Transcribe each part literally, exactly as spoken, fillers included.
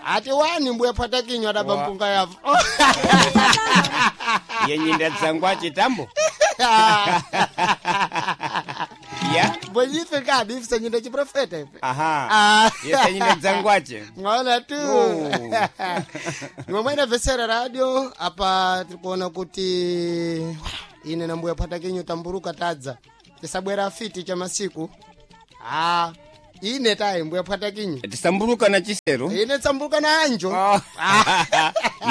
Ati wani mbuya phata kinywa adaba Wa- mpunga yapo. Yenyinda dzangwa chitambo. Ya. Bwenyife kadi ife senyinda chiprofeta ife. Aha. Ah. Yesenyinda dzangwache. Mwaona tu. Oh. Nimwe mwene vesera radio apa tiri kuona kuti ine na mbuya phata kinyu tamburuka tadza tisabwera fiti cha masiku. Ah, ine tayi mbuya phata kinyu. Tisamburuka na chisero. Ine tsamburuka na anjo. Oh.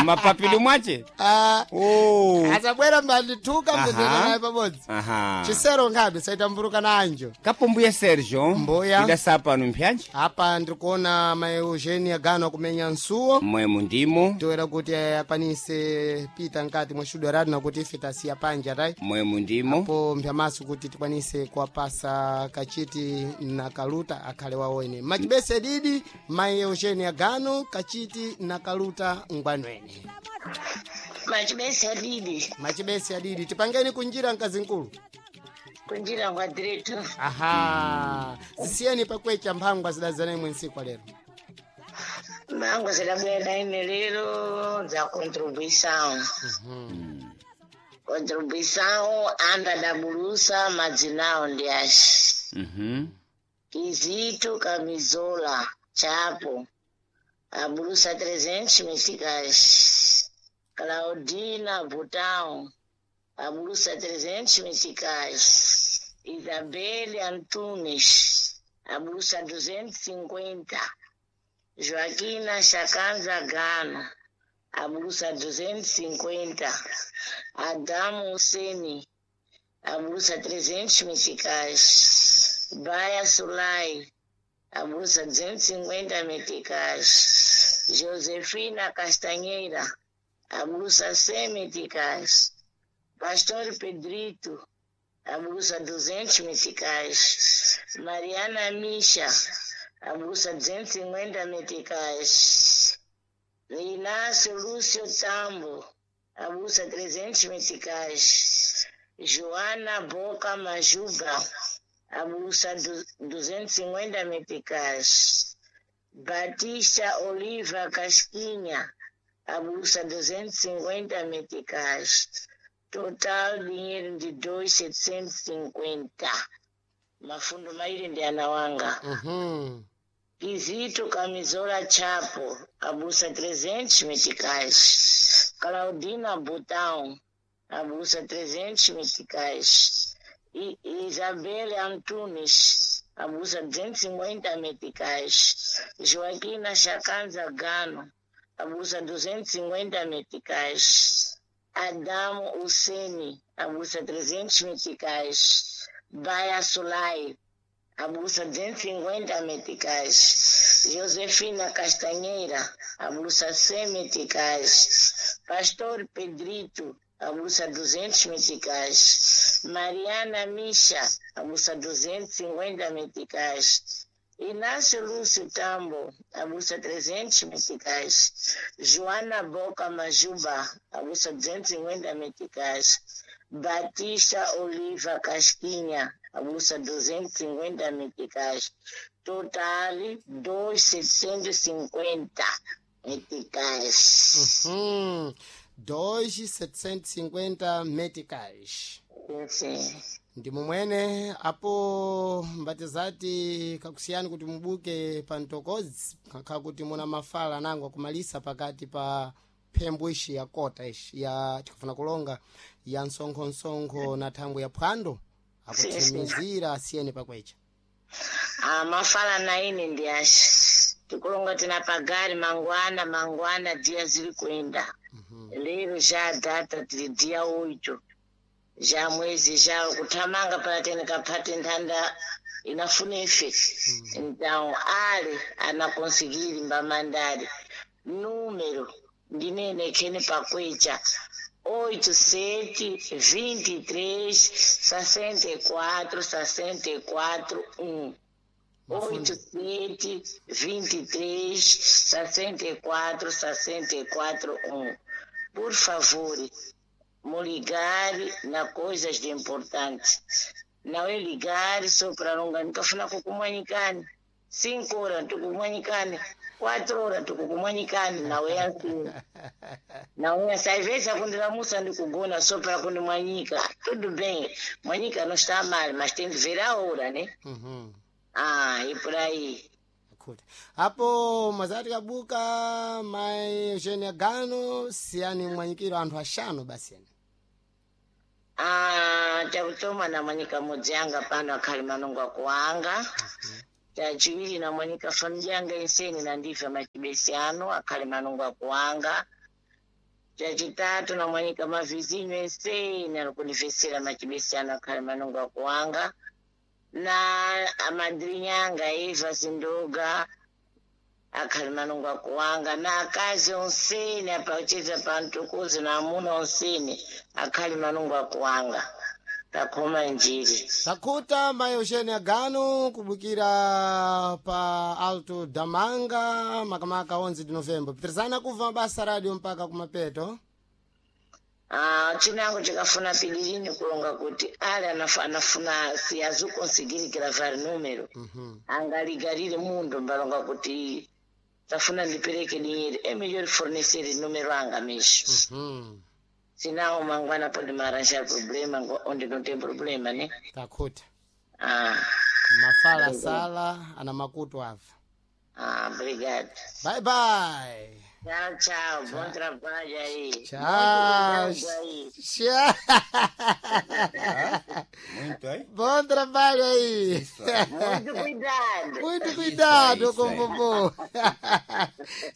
Mapapilo mwache. Ah, Oh. asabwera mbandituka Aha. mbendera naye pabodzi. Aha. Chisero nkhabe saitamburuka na anjo. Kapo mbuya Sergio. Mbuya. Ida sapano mpyanji. Apa ndiri kuona mai Eugenia Gano kumenya nsuwo. Mwe mundimo. Toera kuti akwanise pita nkati mwa studio radio nakuti ife tasiya panja tai. Mwe mundimo. Po mpyamaso kuti tikwanise kuwapasa kachiti na kaluta akhale wawene. Machibese didi mai Eugenia Gano kachiti na kaluta ngwanwene. Machibese adidi Machibese adidi tipangeni kunjira mkazi nkulu. kunjira kwa direto. Aha, zisiyeni pakwecha mphangwa zidazana imwe nsiku lero. Mango zidabwera ine lero za contribuição. Contribuição anda da bulusa madzinao ndi ashi. Mhm. Kizito Camisola Chapo a bulusa trezentos meticais. Claudina Butão a bulusa trezentos meticais. Isabelle Antunes a bulusa duzentos e cinquenta. Joaquina Chakanza Gano a bulusa duzentos e cinquenta. Adamo Huseni a blusa trezentos meticais. Baia Sulai, a blusa duzentos e cinquenta meticais. Josefina Castanheira, a blusa cem meticais. Pastor Pedrito, a blusa duzentos meticais. Mariana Misha, a blusa duzentos e cinquenta meticais. Inácio Lúcio Tambo, a blusa trezentos meticais. Joana Boca Majuba, a blusa du- duzentos e cinquenta meticais. Batista Oliva Casquinha, a blusa duzentos e cinquenta meticais. Total dinheiro de dois mil setecentos e cinquenta. Mafundo mairi ndi anawanga. Uhum. Kizito Camisola Chapo, a bolsa trezentos meticais. Claudina Botão, a bolsa trezentos meticais. I Isabelle Antunes, a bolsa duzentos e cinquenta meticais. Joaquina Chakanza Gano, a bolsa duzentos e cinquenta meticais. Adamo Huseni, a bolsa trezentos meticais. Baia Sulai, a bolsa duzentos e cinquenta meticais. Josefina Castanheira, a bolsa cem meticais. Pastor Pedrito, a bolsa duzentos meticais. Mariana Misha, a bolsa duzentos e cinquenta meticais. Inácio Lúcio Tambo, a bolsa trezentos meticais. Joana Boca Majuba, a bolsa duzentos e cinquenta meticais. Batista Oliva Casquinha, a bolsa duzentos e cinquenta meticais. Total dois mil setecentos e cinquenta meticais. Uhum. dois mil setecentos e cinquenta meticais. Sim, sim. Ndi mumwene apo mbatizati kakusiyani kuti mubuke pa mtokozi kakha kuti muna mafala nango akumalisa pakati pa phembo ishi ya kota ishi ya tikafuna kulonga ya msonkho-msonkho na thangwe ya phwando akuthimizira asiyeni pakwecha. Ah, mafala na ine ndi ashi tikulonga tina pagari mangwana mangwana dia ziri kuenda. Lero já data tiri dia oito já mwezi já kuthamanga pala tene kaphate nthanda inafuna ife. Então ale anakonsigiri mbamandali número ndinene khene pakwecha oito sete vinte e três sessenta e quatro sessenta e quatro um oito sete vinte e três sessenta e quatro sessenta e quatro um. Por favor, me ligar na coisas de importante. Não é ligar só para alongar. Nunca fui na kukumanyikani. Cinco horas, tukumanyikani. Quatro horas tukukumwanyikani nawe yansi. Nawe yansi. Às vezes akundilamusa ndikugona só para kundimwanyika. Tudo bem. Mwanyika não está mal, mas tem de ver a hora, né? Uhum. Ah, e por aí. Kuti apo mwazati kabuka mai Eugenia Gano siyani mwanyikiro anthu axanu basi ene. Ah, chakutoma namwanyika mudzi yanga pano akhali manungo akuwanga. Chachiwiri namwanyika familia yanga inseni nandife machibesi ano akhali manungo akuwanga. Chachitatu namwanyika mavizinyo enseni alikundifesera machibesi ano akhali manungo akuwanga. Na amadrinya anga Eva Zindoga akhali manungo akuwanga na akazi onseni apacheza pantukuzi na amuna onseni akhali manungo akuwanga takhoma njiri. Takhuta mai Eugenia Gano kubukira pa Alto Damanga makamaka onze de Novembro. Pitirizana kubva mabasa radio mpaka kumapeto. Ah, chinango chikafuna pilirini kulonga kuti ali anafu- anafuna si azukonsigiri gravar número. Uhum. Angaligarire mundo mbalonga kuti tafuna ndipereke dinheiro é melhor fornecer número anga mesmo. Uhum. Senão mangwana pode me arranjar problema ngo- onde não tem problema, né? Takhuta Ah, mafala sala ana makutu ava. ah, obrigado. Bye bye. Tchau, tchau. Bom trabalho aí. Tchau. Muito cuidado aí. Tchau. Muito aí. Bom trabalho aí. Isso aí. Muito cuidado. Muito cuidado Isso com aí. o vovô.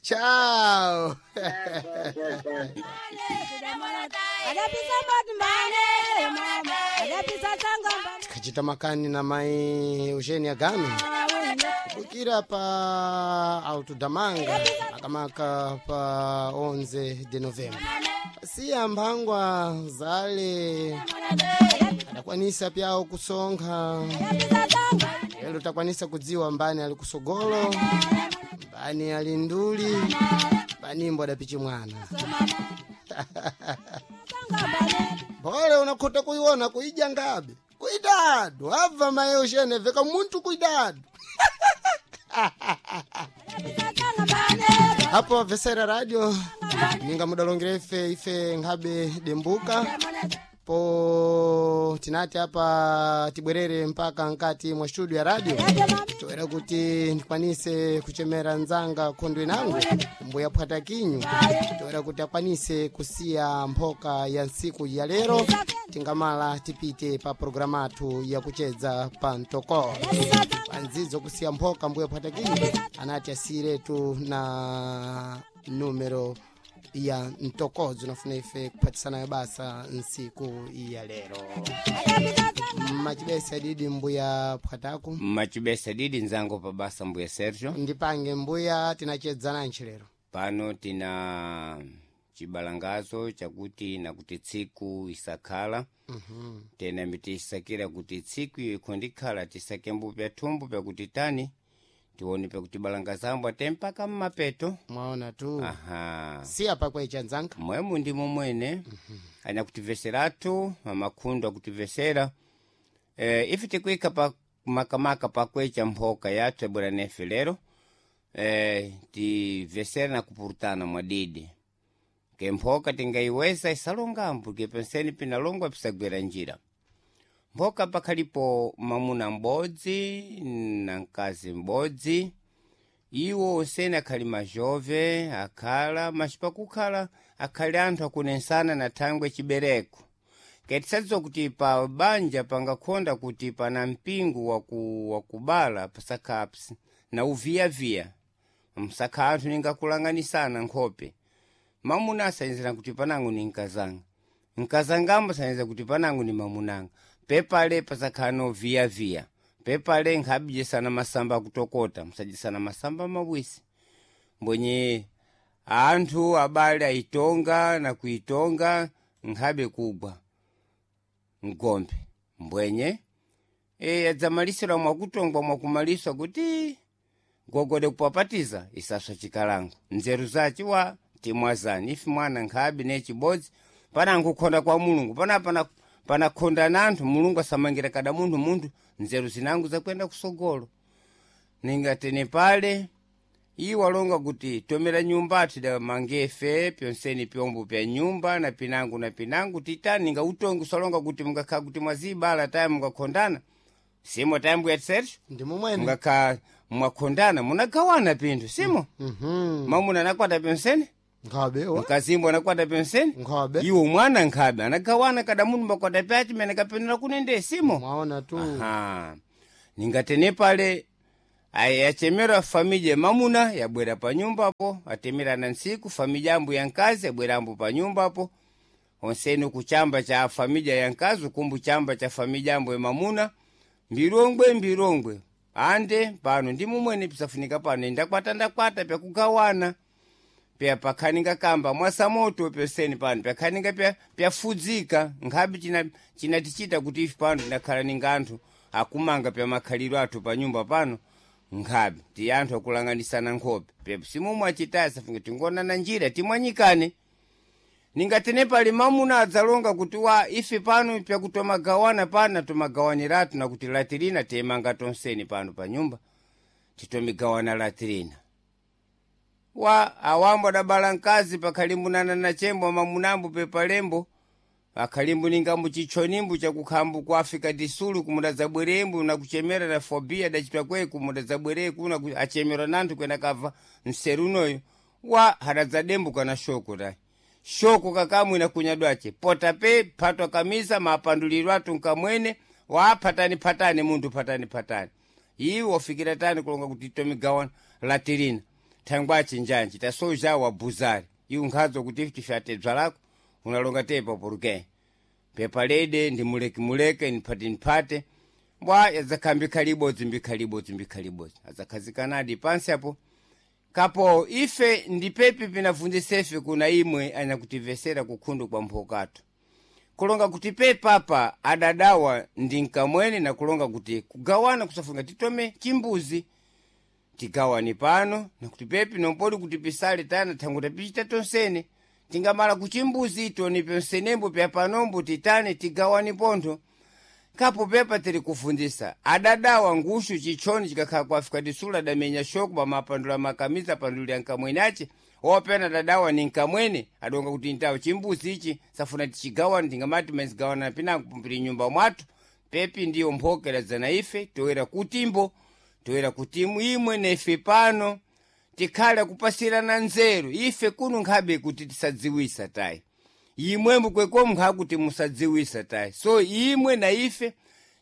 Tchau. Tchau, tchau, tchau. Tikachita makani na mai Eugenia Gano kubukira pa Alto Damanga makamaka pa onze de Novembro. Siya mphangwa zale adakwanisa pyawo kusonkha lero takwanisa kudziwa mbani ali kusogolo mbani ali nduli mbani adapichi mwana mbole unakhota kuiona kuidya ngabe kuidadu abva mai Eugenia veka munthu kuidadu. Apo vesera radio ninga mudalongera ife ife nkhabe dembuka po tinati apa tibwerere mpaka nkati mwa studio ya radio toera kuti ndikwanise kuchemera nzanga khondwe nangu mbuya phwata kinyu toera kuti akwanise kusiya mphoka ya ntsiku ya lero tingamala tipite pa programu athu yakuchedza pa mtokolo pandzidzo kusiya mphoka mbuya phwata kinyu anati asiyiretu na numero ya mtokodzo nafuna ife kuphatisanayo basa ntsiku ya lero. Machibesa didi mbuya phwataku. Machibesa didi nzango pa basa mbuya Sergio. Ndipange mbuya tinachedzana ntchi lero. Pano tina chibalangazo chakuti nakuti tsiku isakhala. Mhm. Tena mitisakira kuti tsiku iyo ikhondikhala tisake mbupi athumbu pakuti tani tione pakuti balangazambo ate mpaka mmapeto. Mwaona tu. Aha. Siya pakwecha nzanga. Mwemu ndimo mwene anyakutivesheratu mamakhundo akutivesera e, ife tikuika pa makamaka pakwecha mphoka yathu yabwera nefe lero e, tivesera na kupurutana mwadidi ke mphoka tingayiweza isalongambo ke penseni pinalongwa pisagwera njira mphoka pakhalipo mamuna m'bodzi na mkazi m'bodzi iwo osene akhali majove akhala mas pakukhala akhali anthu akunensana na thangwe chibereko ketisadziwa kuti pa banja pangakhonda kuti pana mpingo waku, wakubala pasakhala na uviyaviya msakha anthu ningakulanganisana nkhope mamuna asayenzera kuti panango ni mkazanga mkazangambo asayenzera kuti panango ni mamunanga pepale pasakhala noviyaviya pepale nkhabijisana masamba akutokota msajisana masamba mawisi mbwenye anthu abale ayitonga na kuitonga nkhabe kugwa mgombe mbwenye e, adzamalisira mwakutongwa mwakumaliswa kuti gogode kupapatiza isaswa chikalango nzeru zaci wa timwazani ife mwana nkhabe ne chibodzi pana nkukhonda kwa mulungu pana pana panakhonda na anthu mulungu asamangira kada munthu munthu nzeru zinangu zakwenda kusogolo ningatene pale Iyi walonga kuti tomera nyumba atida mangefe pyonseni pyombo pya nyumba na pinangu na pinangu titani nga utongi usalonga kuti mungakhala kuti mwazibala tayi mungakhondana simo tayambu ya Sergio Ndi mumwene. mungakhala mwakhondana munagawana pinthu simo Mhm. mamuna anakwata pyonseni Nkhabe wa. mkazimbo anakwata pyonseni Nkhabe. iwo mwana nkhabe anagawana kada munthu makwata pyaci mene kapenera kunende simo Mwaona tu. Aha. Ningatene pale ayi yachemera familya mamuna yabwera pa nyumbapo atemerana ntsiku familya ambu ya nkazi yabwera ambu pa nyumbapo onseni kuchamba cha familya ya nkazi kumbu chamba cha familya ambu ya mamuna mbirongwe mbirongwe ande pano ndi mumwene pisafunika pano ndakwata ndakwata pyakugawana pya pakhaninga kamba mwasamoto pyoseni pano pyakhaninga pya pyafudzika nkhabe china chinatichita kuti ife pano tinakhala ninga anthu akumanga pya makhaliro athu pa nyumba pano nkhabe ti anthu akulanganisana nkhope pya simumwe achitaya safunga tingonana njira timwanyikane ningatene pali mamuna adzalonga kuti wa ife pano pyakutomagawana pano tomagawaniratu nakuti latirina tiyemanga tonseni pano pa nyumba titomigawana latirina wa awambo adabala mkazi pakhalimbunana na chembo mamunambo pepalembo akhalimbu ningambo chichonimbu chakukhambu ku Africa disulu kumudadzabwerembu nakuchemera na fobia dachitwa kwe kumudadzabwere kuna ku- achemera nanthu kwena kava mserunoyo wa hadadzadembuka na shoko tayi shoko kakamwe na kunyadwace pota pe phatwa kamisa mapanduliro athu nkamwene wa phatani phatani munthu phatani phatani iwe wafikira tani kulonga kuti tomigawana latirina thangwache njanji tasoja wa buzari iwe nkhadzo kuti ife tifyate bzalako unalonga tepa poruke pepa lede ndi muleke nphate nphate mbwa yadzakhala mbikhali ibodzi mbikhali ibodzi mbikhali ibodzi adzakhazikanadi pansi apo kapo ife ndipepi pinavunzisefe kuna imwe anyakutivesera kukhundu kwa mphokatu kulonga kuti pepapa adadawa ndi nkamwene na kulonga kuti kugawana kusafunga titome chimbuzi tigawani pano nakuti pepi nompoli kuti pisale tana thangu tapichita tonsene tingamala kuchimbuzi toni pyonsenembo pya panombo titane tigawani pontho kapo pepa tiri kufundisa adadawa ngushu chichoni chikakhala ku Africa disula adamenya shoko pamapandula makamisa apandulira nkamwene ace opena adadawa ni nkamwene adonga kuti ntawo chimbuzi ichi safuna tichigawana tingamati mazigawana pinango pumpiri nyumba mwathu pepi ndiyo mphokera zana ife toera kutimbo toera kuti imwe nefe pano tikhale kupasirana nzeru ife kuno nkhabe kuti tisadziwisa tayi imwembo kwekomu nkhakuti musadziwisa tayi so imwe na ife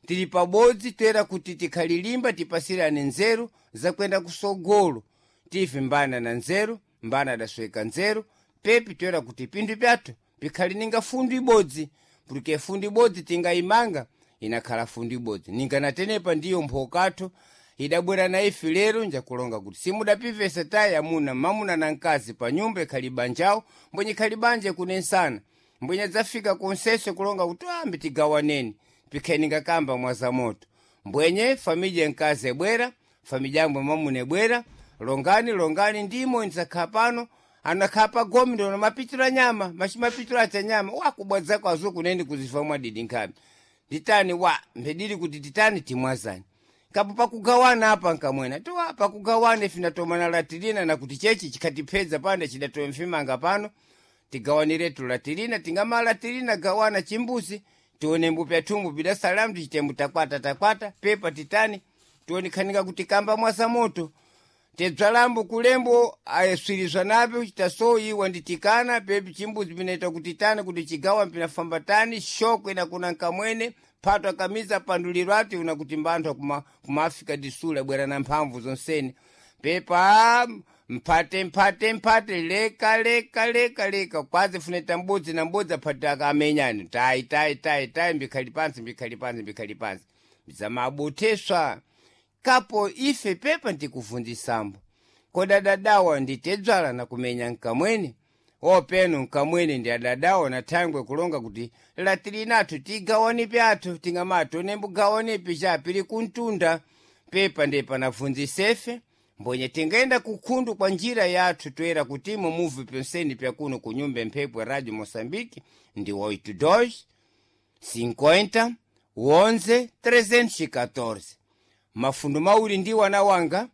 tili pabodzi toera kuti tikhalilimba tipasirane nzeru zakwenda kusogolo tife mbana na nzeru mbana adasweka nzeru pepi toera kuti pinthu pyathu pikhali ninga fundu ibodzi porque fundu ibodzi tingayimanga inakhala fundu ibodzi ninganatenepa ndiyo mphokatho idabwera na ife lero njakulonga kuti simudapivesa tayi amuna mamuna na mkazi pa nyumba ikhali banjawo mbwenye ikhali banja kunensana mbwenye adzafika konsese kulonga kuti ambi tigawaneni pikheni ngakamba mwazamoto mbwenye familya mkazi ebwera familya yambwe mamuna ebwera longani longani ndimo ndzakhala pano anakhala pa gomi ndono mapichira nyama machimapichira acha nyama wakubwadzako azukuneni kuzifa mwadidi nkhabe nditani wa mbedili kuti titani timwazani kapo pakugawana apa nkamwena tiwa pakugawana ife ndatomana latirina nakuti chechi chikhatipedza pano chidatowe mfimanga pano tigawaniretu latirina tingamala latirina gawana chimbuzi tione mbupi athumbu bidasalamu tichitembu takwata takwata pepa titani tionekhanika kuti kamba mwasamoto tebzalambo kulembo ayeswirizwa napo chitasoyiwa nditikana pepi chimbuzi pinaita kuti tani kuti chigawa mpinafamba tani shoko inakuna nkamwene phato akamiza panduliro ati una kuti mbanthu kuma, kuma Africa disula bwera na mphamvu zonsene pepa mphate mphate mphate leka leka leka leka kwazi funeta mbudzi na mbudzi aphate akamenyani tayi tayi tayi tayi mbikhali pansi mbikhali pansi mbikhali pansi zamabuteswa kapo ife pepa ndikuvundisambo koda dadawa nditedzwala na kumenya nkamwene openo nkamwene ndi adadawa na thangwe kulonga kuti latilinathu tigawani pyathu tingamati onembugawanepi chapili kuntunda pepa ndi panavunzisefe mbwenye tingaenda kukhundu kwa njira yathu toera kutimo muvi pyonseni pyakuno ku nyumba mphepo ya radio moçambique ndi oito dois cinquenta onze trezentos e quatorze mafundu mawiri ndi wana wanga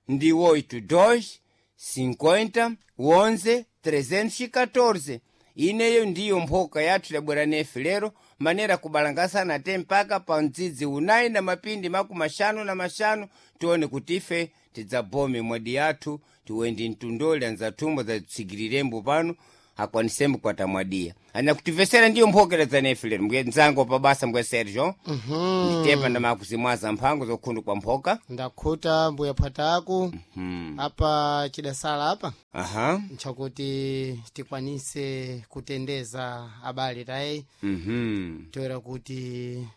Ndi oito dois cinquenta onze trezentos e catorze. Ineyo ndiyo mphoka yathu yabwera nefe lero, manera kubalangasana te mpaka pa mdzidzi unayi na mapindi makumi axanu na maxanu, tione kuti ife tidzabome mwadi yathu, tiwendi mtundoli anzathumbo zatsigirembo pano akwanisembo kwata mwadiya anyakutivesera. Ndiyo mphokera dzanefe lero, mbuye mdzango pabasa, mbuye Sergio. Mhm. Nditepa ndamakuzimwaza mphango zokhundu kwa mphoka. Ndakhuta mbuya phwataku. Apa chidasala apa Aha. nchakuti tikwanise kutendeza abale tayi, Mhm. toera kuti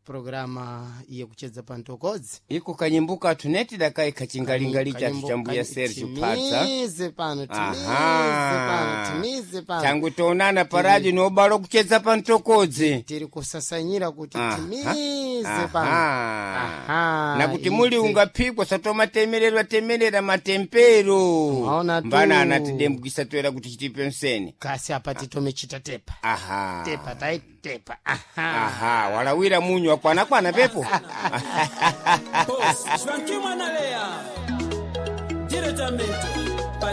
programa iye kuchedza pa mtokodzi. Iko kanyimbo kathu neti dakayi kachingalingali chathu cha mbuya Sergio Phatsa. Timize pano, timize Aha. pano, timize pano. Tangu tionana paradio nobalo kuchedza pa mtokodzi. Tiri kusasanyira kuti Aha. timize pano. Aha. Aha, Nakuti muli idzi. ungaphikwa satomatemererwa temerera matempero. Mwaona tu. Mbana anatidembukisa toera kuti chitipe mseni. Kasi apa titome chita tepa. Aha. Tepa taitepa, aha. Aha, walawira munyu wakwanakwana pepo. Boss, Joaquim Analea, diretamente.